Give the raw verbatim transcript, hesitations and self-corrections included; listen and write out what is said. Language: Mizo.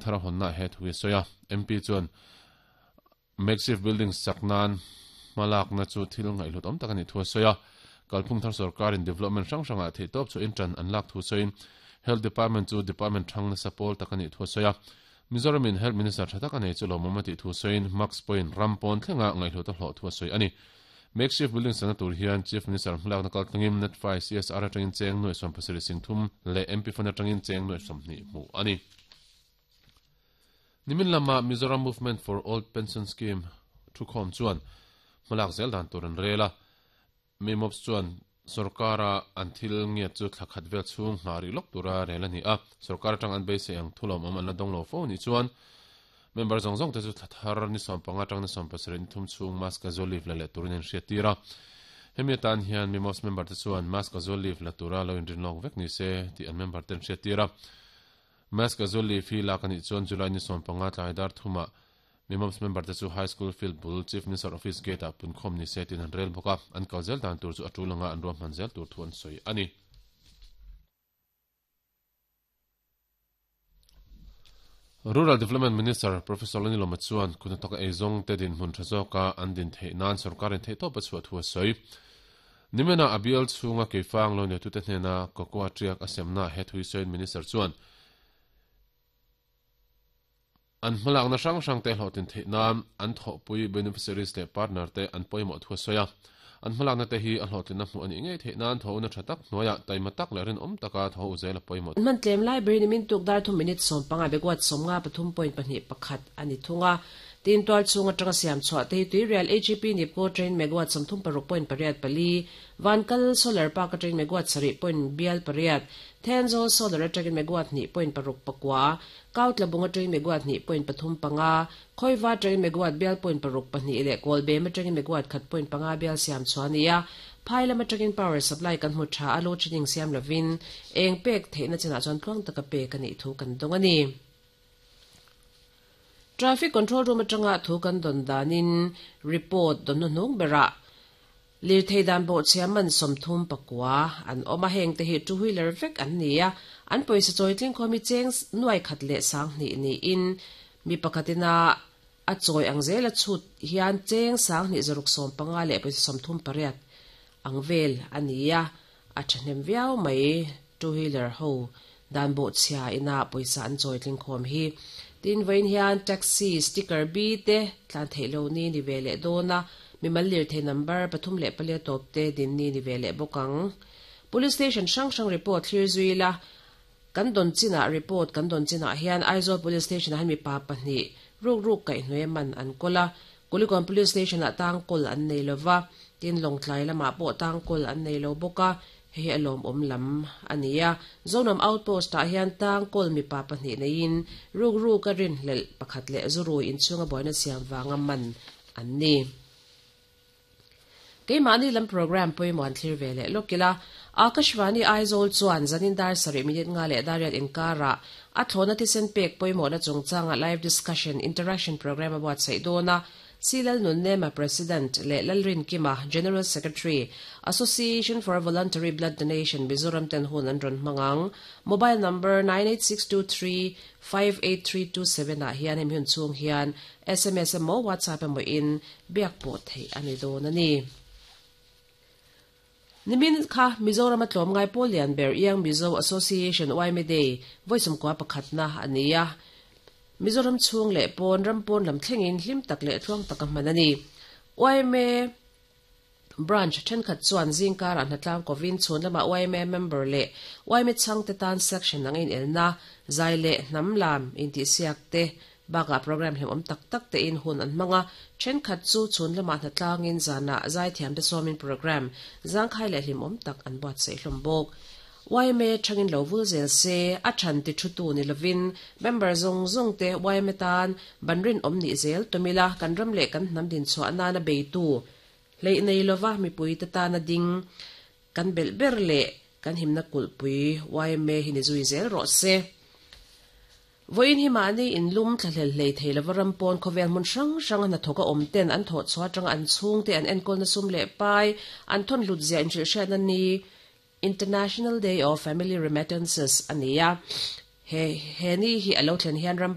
thar honna he thu soya M P chuan makeshift building saknan malak na chu thil ngai hlut om takani thu soya kalphung thar sarkar in development sang sanga the top chu intran an lak thu soin health department chu department thang na support takani thu soya Mizoram in health minister thatak anei chu lomomati thu soin max point rampon thlenga ngai hlut a hlo thu soi ani makeshift building sana tur hian chief minister hmlak na kal tangim net five C S R atangin cheng noi som pasari sing thum le M P fana tangin cheng noi som ni mu ani nimin lama Mizoram Movement for Old Pension Scheme thu khom chuan hmalak zel dan tur an rela mimops chuan sarkara an thil nge chu thlakhat vel chung hnari lok tura rela ni a sarkar tang an beise ang thulom om an la dong lo fo ni chuan member zong zong te chu thar ni som panga tang ni som pasarih ni thum chung mask zolive la le turin an hriatira hemi tan hian mimos member te chuan mask zolive la tura lo in rinlong vek ni se ti an member ten hriatira mask zolive hi la kani chuan July ni som panga tlai dar thuma mimos member te chu high school field bul chief minister office gate a punkhom ni se tin an rel boka an kalzel dan tur chu atulanga an rom manzel tur thuan soi ani Rural Development Minister Professor Lani Loma chuan kunataka eizong te din hmun thazoka an din thei nan sarkarin thei top a chhuah thu a sawi nimena abial chhunga keifang lo ne tute hnena cocoa triak a semna he thui sawiin minister chuan an hmalak na hrang hrang te hlawhtin thei nan an thawhpui beneficiaries leh partner te an pawimawh thu a sawi a an hmalak na te hi a hlawhtlin na hmuh ani ngei thei nan tho na tha tak hnuaiah taima tak leh rin awm taka tho u zel a pawimawh man tlem library ni min tuk dar thu minute som panga begwat som nga pathum point pahnih pakhat ani thunga tin twal chunga tanga siam chhuah te tui real A G P nipko train megawatt som thum paruk point pariat pali vankal solar park train megawatt sari point bial pariat thenzo solar train megawatt ni point paruk pakwa kautla bunga train megawatt ni point pathum panga khoiwa train megawatt bial point paruk pahnih le kolbe ma train megawatt khat point panga bial siam chuania phaila ma train power supply kan mu tha alo chining siam lovin eng pek theina china chuan tluang taka pe kani thu kan dongani traffic control room atanga thu kan don danin report don nung bera lir theidan bo chairman somthum pakwa an oma heng te hi two wheeler vek an nia an poisa choitling khomi cheng nuai khat le sang ni ni in mi pakhatina a choi angzel a chut hian cheng sang ni zaruk som panga le poisa somthum pariat angvel ania a thahnem viau mai two wheeler ho dan bo chia ina poisa an choitling khom hi tin vein hian taxi sticker b te tlan theilo ni ni vele dona mimal lir the number pathum le pale top te din ni ni vele bokang police station sang sang report thlir zuila kan don china report kan don china hian Aizawl police station han mi pa pahni ruk ruk kai hnue man an kola Kulikon police station a tang kol an nei lova tin longtlai lama po tang kol an nei lo boka he alom om lam ania zonam outpost ta hian tang kol mi pa pahni nein ruk ruk ka rin hlel pakhat le zuru in chunga boina siam wanga man an ni keimani lam program poimon thlir vele lokila Akashvani Aizawl chuan zanin dar sari minute nga le dariat inkara a thlona tisen pek poimona chungchanga live discussion interaction program about sei dona Silal Nunnema President le Lalrin Kima General Secretary Association for Voluntary Blood Donation Mizoram ten hun an ron mangang mobile number nine eight six two three five eight three two seven a hian hem hun chung hian S M S mo WhatsApp mo in biak po thei ani don ani Nimin kha Mizoram atlom ngai Polian Ber Iang Mizo Association Y M Day voisum kwa pakhatna ania Mizoram chung le pon rampon lam thlengin hlim tak le thuang taka manani Y M A branch thenkhat chuan zingkar an hatlang kovin chun lama Y M A member le Y M A changte tan section angin elna zai le hnamlam inti siak te baka program hem om tak tak te in hun an manga thenkhat chu chun lama hnatlangin zana zai thiam te somin program zangkhai le hlim om tak an buat sei hlom bok Y M A thangin lo vul zel se a than ti thutu ni lovin member zong zong te Y M A tan banrin om ni zel tomila kan ram le kan nam din chwa na na beitu lei nei lova mi pui ta ta na ding kan bel ber le kan himna kulpui Y M A hi ni zui zel ro se voin hi mani in lum thlahlel hlei thei lova rampon khawvel hmun hrang hrang na thoka awm ten an thaw chhuah atang an chhung te an enkawl na sum leh pai an thawn hlut zia in hrilh hriatna ni International Day of Family Remittances ania he he ni hi alo thlen hian ram